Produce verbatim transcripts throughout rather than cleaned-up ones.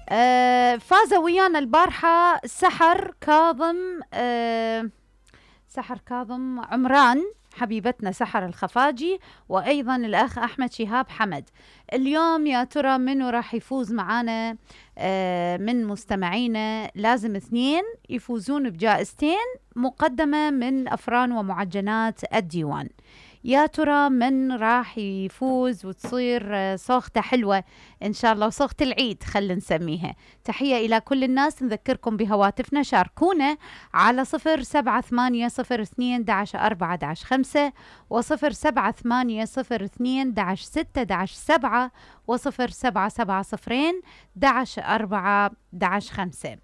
آه فاز ويانا البارحة سحر كاظم آه سحر كاظم عمران، حبيبتنا سحر الخفاجي، وأيضا الأخ أحمد شهاب حمد. اليوم يا ترى منو راح يفوز معانا آه من مستمعينا؟ لازم اثنين يفوزون بجائزتين مقدمة من أفران ومعجنات الديوان. يا ترى من راح يفوز وتصير صوغته حلوة إن شاء الله، وصوغة العيد خلينا نسميها. تحية إلى كل الناس، نذكركم بهواتفنا، شاركونا على صفر سبعة ثمانية صفر اثنين داش أربعة داش خمسة وصفر سبعة ثمانية صفر اثنين داش ستة داش سبعة وصفر سبعة سبعة صفرين داش أربعة داش خمسة.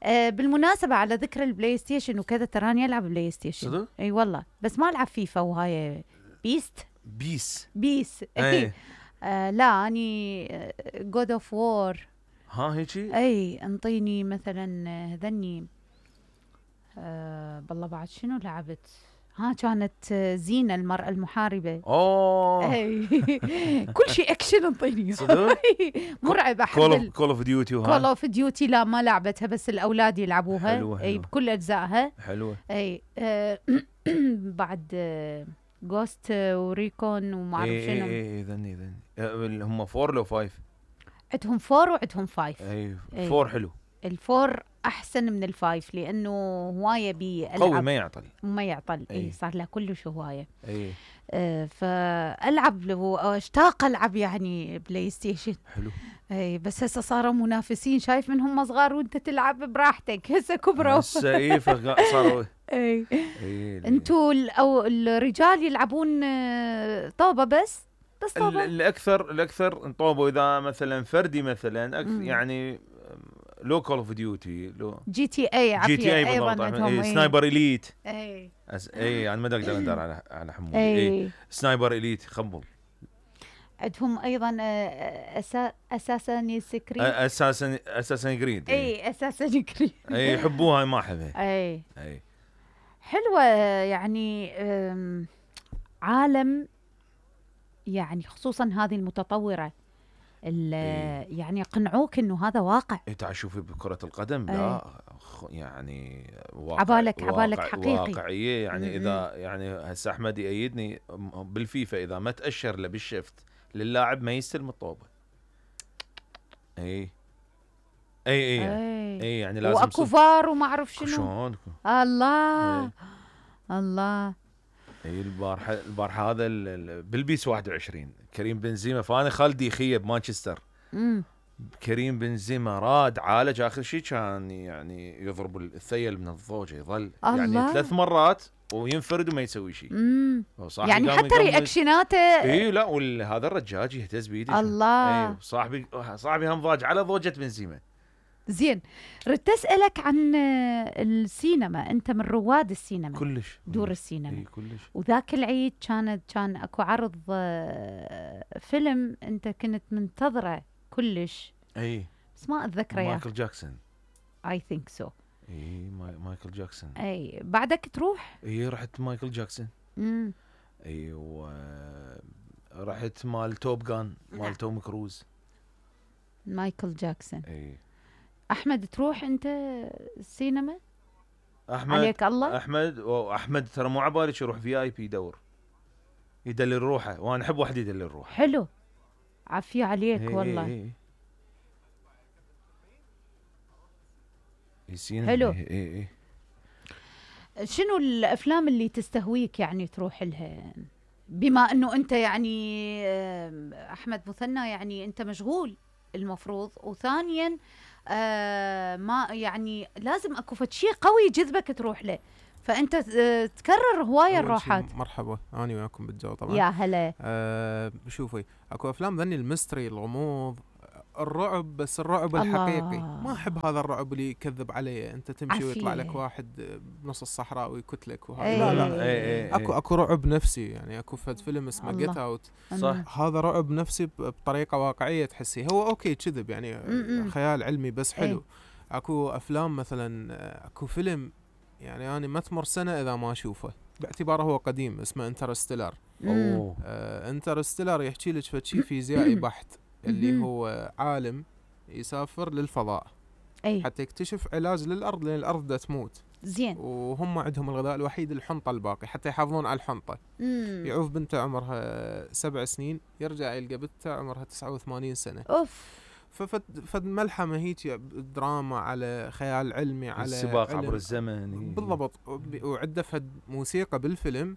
آه بالمناسبة على ذكر البلاي ستيشن وكذا، تراني ألعب بلاي ستيشن. صدق؟ أي والله، بس ما ألعب فيفا وهاي بيست بيس بيس اي آه لا اني جود اوف وور. ها هيجي اي انطيني مثلا هذني آه بالله بعد شنو لعبت؟ ها كانت زينة المرأة المحاربة. اوه اي كل شيء اكشن انطيني. صدق؟ مرعب. كول احب كول اوف ديوتي كول اوف ديوتي. لا ما لعبتها، بس الاولاد يلعبوها. حلوة اي حلوة. بكل اجزائها حلوة. اي آه بعد آه جوست وريكون وما اعرف اي شنو. اي اي ذني ذني هم فور لو فايف؟ عندهم فور وعندهم فايف. اي أي. فور حلو. الفور احسن من الفايف لانه هوايه بيلعب قوي ما يعطل ما يعطل. اي أي. صار له كلش هوايه. اي آه فالعب واشتاق العب يعني بلاي ستيشن. حلو. اي بس هسه صاروا منافسين، شايف منهم صغار وانت تلعب براحتك، هسه كبروا. هسه اي صاروا اي اي انتوا او الرجال يلعبون آه، طوبه بس بس طوبه. الاكثر الاكثر انطوبوا اذا مثلا فردي مثلا أكثر يعني لو كول اوف ديوتي لو جي تي اي عافيه جي تي اي ايضا بالضبط. عندهم. اي سنايبر اليت. اي أس... اي انا ما اقدر اندر على على حمود. اي, اي سنايبر اليت خبل. عندهم ايضا أسا... اساسا سكريت. اساسا اساسا جريد. اي اساسا جريد. اي يحبوها ما احبها. اي اي حلوه يعني عالم يعني، خصوصا هذه المتطوره إيه. يعني يقنعوك انه هذا واقع. انت إيه شوفي بكره القدم أي. لا يعني واقع عبالك عبالك واقع حقيقي واقعيه يعني. م-م. اذا يعني هسه احمد يأيدني بالفيفا، اذا ما تاشر له بالشفت للاعب ما يستلم الطوبه. اي اي اي يعني, أي يعني لازم واكو فار وما اعرف شنو. شلون الله أي. الله. اي البارحه البارحه هذا بالبيس واحد وعشرين كريم بنزيما، فانا خالدي خيه بمانشستر. امم كريم بنزيما راد عالج اخر شيء، كان يعني يضرب الثيل من الضوجه يظل الله. يعني ثلاث مرات وينفرد وما يسوي شيء. يعني حتى رياكشناته. اي لا وهذا الرجاج يهتز بيده الله. اي صاحبي صاحبي هم ضاج على ضوجه بنزيما. زين، ردت اسالك عن السينما، انت من رواد السينما كلش دور السينما. اي كلش. وذاك العيد كانت كان اكو عرض فيلم انت كنت منتظره كلش. اي بس ما اتذكره يا مايكل جاكسون. اي ثينك سو. اي مايكل جاكسون. اي بعدك تروح؟ اي رحت مايكل جاكسون. امم اي و رحت مال توب جان مال توم كروز. مايكل جاكسون. اي احمد تروح انت السينما؟ احمد عليك الله. احمد واحمد ترى مو عبالي يروح في اي بي يدور يدلل روحه، وانا احب واحد يدلل روحه. حلو عافيه عليك. هي والله هي هي. حلو. اي اي. شنو الافلام اللي تستهويك يعني تروح لها، بما انه انت يعني احمد مثنى يعني انت مشغول المفروض، وثانيا آه ما يعني لازم اكو فد شيء قوي يجذبك تروح له، فانت تكرر هوايه الروحات. مرحبا انا وياكم بالجو طبعا. يا هلا. آه شوفي اكو افلام ذني الميستري الغموض الرعب، بس الرعب الحقيقي. ما احب هذا الرعب اللي يكذب علي، انت تمشي ويطلع لك واحد بنص الصحراء ويكتلك وهذا. أيه. لا لا أيه أيه. اكو اكو رعب نفسي يعني. اكو فد فيلم اسمه جيت اوت، صح. هذا رعب نفسي بطريقه واقعيه تحسي هو اوكي كذب يعني م-م. خيال علمي بس حلو. أيه. اكو افلام مثلا اكو فيلم يعني انا ما تمر سنه اذا ما اشوفه باعتباره هو قديم، اسمه انترستيلر. اوه آه انترستيلر يحكي لك فد شيء فيزيائي بحت، اللي هو عالم يسافر للفضاء اي حتى يكتشف علاج للارض، لان الارض دا تموت. زين. وهم عندهم الغذاء الوحيد الحنطه الباقي، حتى يحافظون على الحنطه. مم. يعوف بنته عمرها سبع سنين، يرجع يلقى بنته عمرها تسعة وثمانين سنه. اوف. ففد فد ملحمه هيك دراما على خيال علمي على السباق علم. عبر الزمن. بالضبط. وعنده فد موسيقى بالفيلم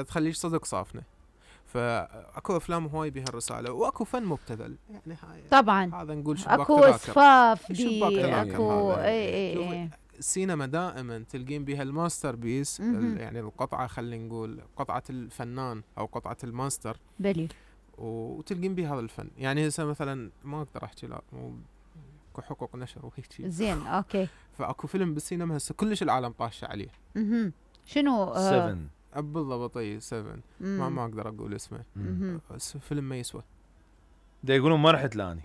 تخليش صدق صافنه. فاكو افلام هواي بها الرساله، واكو فن مبتذل يعني. هاي طبعا هذا نقول شباك اكو تذاكر. اسفاف شباك دي تذاكر اكو هذا. اي اي شوفي، اي السينما دائما تلقين بها الماستر بيس، مهم. يعني القطعه، خلينا نقول قطعه الفنان او قطعه الماستر، بلي. وتلقين بها هذا الفن. يعني هسه مثلا ما اقدر احكي، لا مو اكو حقوق نشر وهيك شيء. زين اوكي. فاكو فيلم بالسينما هسه كلش العالم طاشه عليه. اها شنو؟ آه سفن. بالضبط. اي سفن. ما ما اقدر اقول اسمه. مهم. بس فيلم ما يسوى، دا يقولون ما رحت لاني.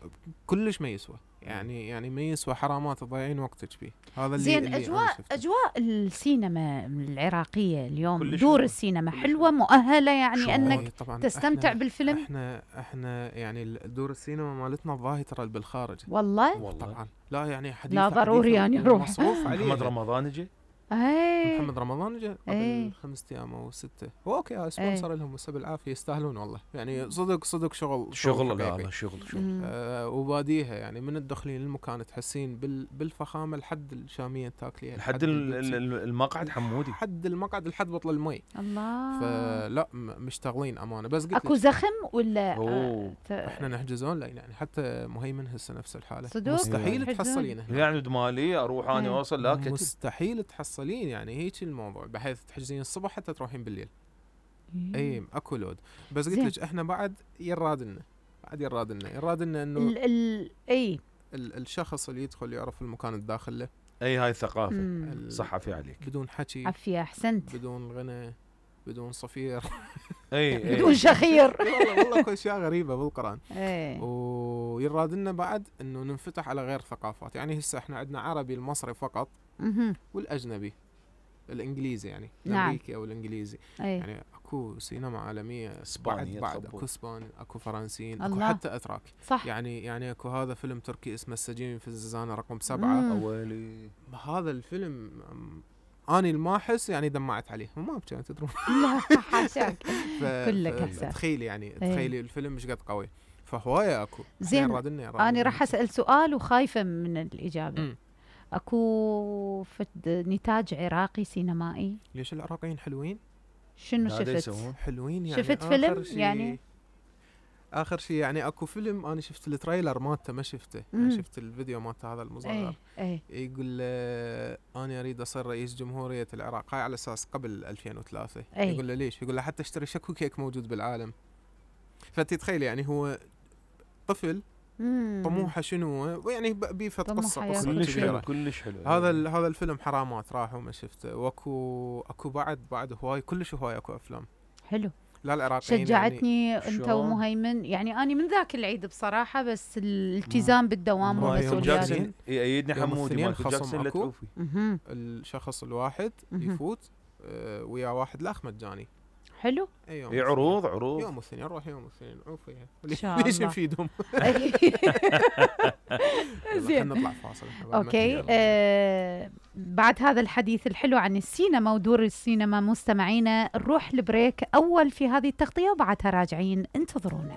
كلش ما يسوى يعني. يعني ما يسوى، حرامات تضيعين وقتك فيه. هذا اللي زين. اللي اجواء اجواء السينما العراقيه اليوم، كلش دور حلوة. السينما كلش حلوه مؤهله يعني شو انك إيه طبعاً. تستمتع إحنا بالفيلم. احنا احنا يعني دور السينما مالتنا الظاهر ترى بالخارج. والله والله طبعا لا يعني حديث لا ضروري يعني نروح. مصروف عليه. محمد رمضان اجى. اي محمد رمضان جاء إيه. قبل خمسة ايام او ستة. هو اوكي سبونسر لهم بس بالعافيه، يستاهلون والله يعني. صدق صدق شغل شغل لا حقيقي. لا شغل شغل. مم. آه وباديها يعني من الدخلين للمكان تحسين بال بالفخامه لحد الشاميه تاكليها لحد ال- ال- ال- المقعد حمودي. لحد المقعد لحد بطل المي. الله. فلا م- مشتغلين امانه. بس قلت اكو لك زخم ولا أوه. آه ت- احنا نحجزون لا يعني. حتى مهيمن هسه نفس الحاله. صدق؟ مستحيل يحجزون؟ تحصلين هنا. يعني دمالي اروح انا إيه. اوصل لا كتب. مستحيل تحصلين يعني. هيك الموضوع، بحيث تحجزين الصبح حتى تروحين بالليل. إيه. اي اكو لود. بس قلت زين. لك احنا بعد يرادنا بعد يرادنا يرادنا انه ال ال اي ال الشخص اللي يدخل يعرف المكان الداخل له. اي هاي الثقافه. مم. ال- صح في عليك. بدون حكي، عافيه احسنت. بدون غنى، بدون صفير. اي اي بدون شخير. والله والله اكو اشياء غريبه بالقران. ايه. ويرادنا بعد انه ننفتح على غير ثقافات. يعني هسه احنا عندنا عربي المصري فقط، مهم. والاجنبي الانجليزي يعني نعم. الامريكي او الانجليزي. ايه. يعني اكو سينما عالميه بعد اسبانيا بعد تخبط. اكو اسباني، اكو فرنسيين، اكو الله. حتى اتراك. صح. يعني يعني اكو هذا فيلم تركي اسمه السجين في الزنزانه رقم سبعة. مم. اولي. هذا الفيلم أم، اني الماحس يعني دمعت عليه وما ابكي تدرون. لا حاشاك. ف- كلك ف- هسه. تخيلي يعني تخيلي الفيلم مش قد قوي. فهوايه اكو. زين. يرادلنا- يرادلنا. انا راح اسال سؤال وخايفه من الاجابه. مم. اكو فد نتاج عراقي سينمائي؟ ليش العراقيين حلوين؟ شنو هذا شفت؟ يسوون. حلوين يعني. شفت آخر فيلم شي- يعني؟ اخر شيء يعني اكو فيلم انا شفت التريلر مالته ما شفته. يعني مم. شفت الفيديو مالته هذا المصغر. ايه ايه يقول له انا اريد اصير رئيس جمهوريه العراق. هاي على اساس قبل ألفين وثلاثة. أي. يقول له ليش؟ يقول له حتى اشتري شكو كيك موجود بالعالم. فتتخيل يعني هو طفل مم. طموحه شنو هو، ويعني ب- بيفت طموحه قصه ياكل قصه كلش حلو كبيره. كلش حلو. هذا ال- هذا الفيلم حرامات راح وما شفته. واكو اكو بعد بعد هواي كلش هواي اكو افلام. حلو. لا العراقيين شجعتني يعني انت شلون؟ ومهيمن يعني. اني من ذاك العيد بصراحه، بس الالتزام بالدوام ما يوم والمسؤوليات. جاكسون. جاكسون يأيدني يوم حمودي الاثنين مالت خصم جاكسون لا أكو. تعوفي. مهم. الشخص الواحد مهم. يفوت آه، ويا واحد لاخ مجاني. حلو. اي يوم اي عروض عروض. يوم الاثنين نروح يوم الاثنين نعوف فيها. إن شاء ليش الله. نفيدهم؟ زين. زين نطلع فاصل. إحنا بعد ما اوكي. نجي. آه بعد هذا الحديث الحلو عن السينما ودور السينما مستمعينا، نروح البريك اول في هذه التغطيه وبعدها راجعين، انتظرونا.